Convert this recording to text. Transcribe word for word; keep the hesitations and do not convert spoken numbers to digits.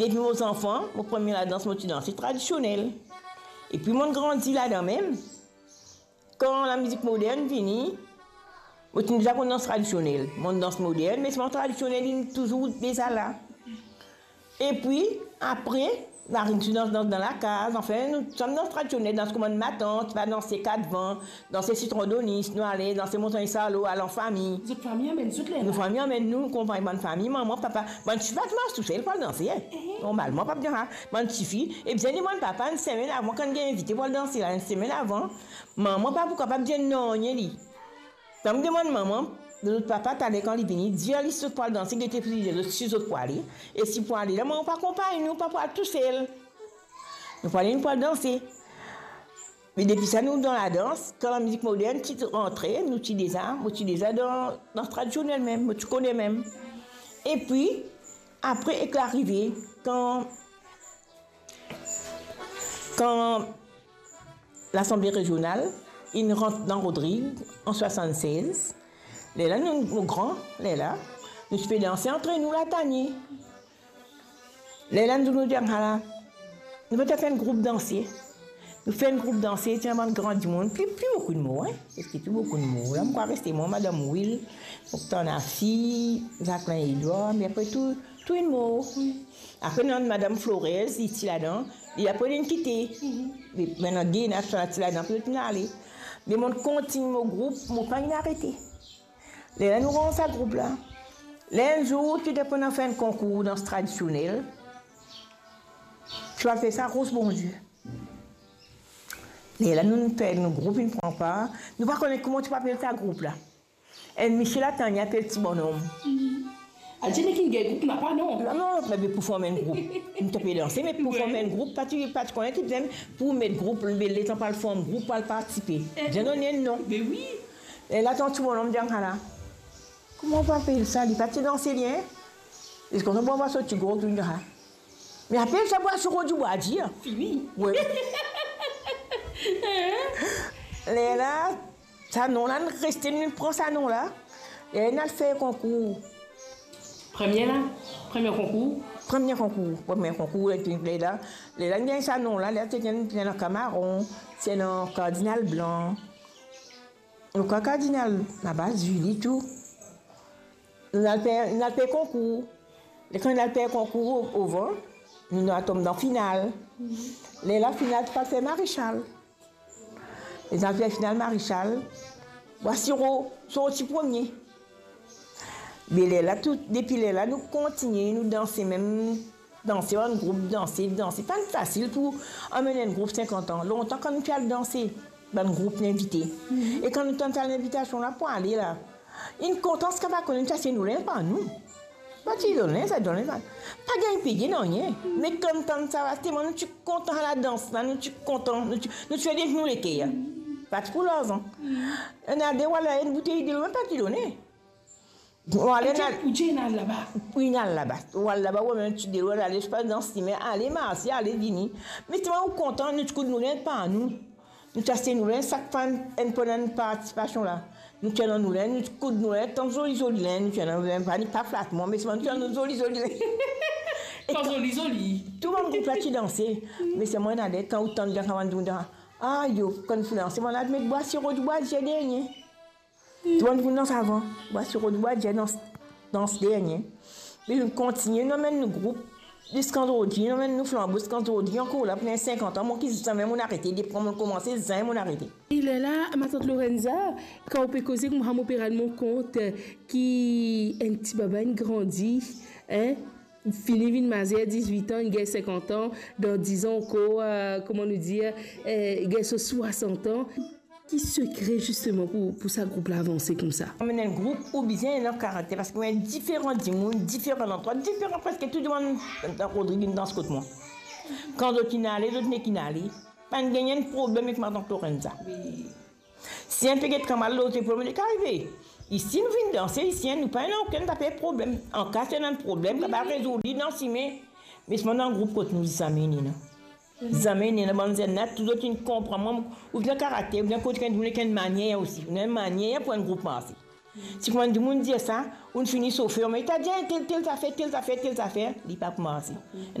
Depi mo zanfan, mo premie ladans mo ti danse tradisionel. Epi mo'nn grandi ladan mem. Kan lamizik modern vini, mo ti deza konn dans tradisionel. Mo'nn dans modern, me swa tradisionel, li touzour deza la. Epi, apre, nou ti dans, dans dan lakaz, anfin, nou, sa nou dans tradisionel, dans kouma matant, ti pe danse kat van, danse sitron donis, nou ale danse montagn Salo, al an fami. Zot fami amenn zot lerla? Nou fami amenn nou, nou konpagn bann fami, manman, papa. Bann tifi pa ti mars tousel pou al danse, eh. Eh. Normalman, pa bizin sa. Bann tifi, e bizin demann papa enn semenn avan, kan gagn invite pou al danse la, enn semenn avan. Manman pa pou kapav dir nanye li. Kan mo demann manman, zot papa, taler kan li vini, dir li si zot pou al danse, gete pou li, zot, si zot pou ale. E si pou ale la, manman pa konpagn nou, pa pou al tousel. Nou pou ale, nou pou al danse. Me depi sa, nou dan ladans, kan lamizik modern ti rantre, nou ti deza, mo ti deza dan, dan tradisionel mem, mo ti kone mem. Epi, apre, ek larive, kan, kan Lasanble Rezional inn rant dan Rodrig an swasann-sez, lerla nou, nou gran, lerla, nou ti pe danse antre nou, latanie. Lerla nou, nou dir, ala, nou pe fer enn group danse. Nou fer enn group danse, ti ena bann gran dimoun, pli, pli boukou dimoun, hein, parski tou boukou dimoun. La, mo krwar reste mwa, madam Wil, mo tann Afi, Zaklin Edwar, me apre tou, tou inn mor. Apre, nou ena madam Flores, li ti ladan, li apre linn kite. Me, me ena Gena, sa ti ladan, apre zot inn ale. Me mo kontign mo group, mo pa inn arete. Lerla nou rann sa group la. Ler enn zour, ti depann fer enn konkour dans tradisionel. Ti pe apel sa Ros Bondie. Lerla nou, nou fer nou group, nou pran par. Nou pa kone kouma ti pe apel sa group la. Enn misie latanie apel Ti Bonom. Adir nek inn gagn group, napa non. Non, non, me pou form enn group. Nou ti pe danse, me pou form enn group, pa ti, pa ti kone ki bizin pou met group, letan pou al form group, pou al partisipe. Bizin donn enn non. Be wi. E la, tanti mo nom dir ala, kouma ou pe apel sa? Li pa ti dan selien. Li kontan, bon, va sorti gro, touzour. Me apel sa Bwa Siro Dibwadir. Fini. Wi. Lerla, sa nom la, nou reste, nou pran sa nom la. E nou al fer konkour. Premie la, premie konkour. Premie konkour, premie konkour, e pi lerla, lerla nou gagn sa nom la, lerla ti gagn, ti gagn Kamaron, ti ena Kardinal Blan. Nou krwar Kardinal Labas, Zili tou. Nou al fer, nou al fer konkour. Letan nou al fer konkour o, ovan, nou, nou al tom dan final. Lerla final ti pe al fer Marechal. Letan nou al fer final Marechal, Bwa Siro sorti premie. Me lerla tou, depi lerla nou kontigne, nou danse mem, danse bann group, danse, danse. Pa fasil pou amenn enn group sinkant an. Lontan kan nou ti al danse, bann group invite. E kan nou tann sa linvitasion la pou ale la, inn kontan, sa pa kone nou ti aste nou linz par nou. Pa ti donn linz, sa donn linz, pa gagn peye nanye. Me kan nou tann sa, telman nou ti kontan ladans la, nou ti kontan, nou ti, nou ti fer depi nou leker. Pa ti pou larzan. Ena de, wala, enn boutey delo, mem pa ti done. Ou ale, ou dir ena laba. Wi, ena laba. Ou al laba, ou amenn ti delo, ale, pa dan sime, ale marse, ale vini. Me telman ou kontan, nou ti koud nou linz par nou. Nou ti aste nou linz, sak fwa enn, pandan partisipasion la. Nou ti ena nou linz, nou ti koud nou linz, tann zoli, zoli linz, nou ti ena nou linz, pa, pa flatman, me selman nou ti ena nou zoli, zoli linz. E pa zoli, zoli. Tou bann group la ti danse. Me selman ena de, kan ou tann bien, kan bann dimoun dan, ayo, kan finn danse, bann la met Bwa Siro Dibwadir dernie. Tou bann dimoun dans avan, Bwa Siro Dibwadir dans, dans dernie. Me nou kontigne, nou amenn nou group, ziska zordi, nou amenn nou flanbo ziska zordi, ankor la, pou sinkant an, mo ki zame mo'nn arete, depi kan mo'nn koumanse, zame mo'nn arete. E lerla, matant Lorenza, kan ou pe koze koumsa, mo pe rann mwa kont ki enn ti baba inn grandi, hein, fini vinn mazer, dizwit an, inn gagn sinkant an, dan diz an ankor, eh, kouma nou dir, eh, gagn so swasant an. Ki sekre zisteman pou, pou sa group la avanse koumsa? Amenn enn group, ou bizin ena karakter, parski ou ena diferan dimoun, diferan landrwa, diferan, preske tou dimoun dan Rodrig inn dans kot mwa. Kan zot inn ale, zot nek inn ale. Pa'nn gagn enn problem ek matant Lorenza. Wi. Si enn pe get kamarad lot lepol, mo dir, ki arive? Isi nou vinn danse, isi, nou pa ena okenn zafer problem. Anka si ena problem, kapav rezoud li dan sime. Me selman dan group kot nou, zame ena. Zame ena. Bann zenn la, tou zot inn konpran mwa, ou ena karakter, ou ena kot enn dimoun ek enn manier osi. Ou ena enn manier pou enn group marse. Si kouma dimoun dir sa, ou fini sofer, me ta dir tel, tel zafer, tel zafer, tel zafer, li pa pou marse. Ena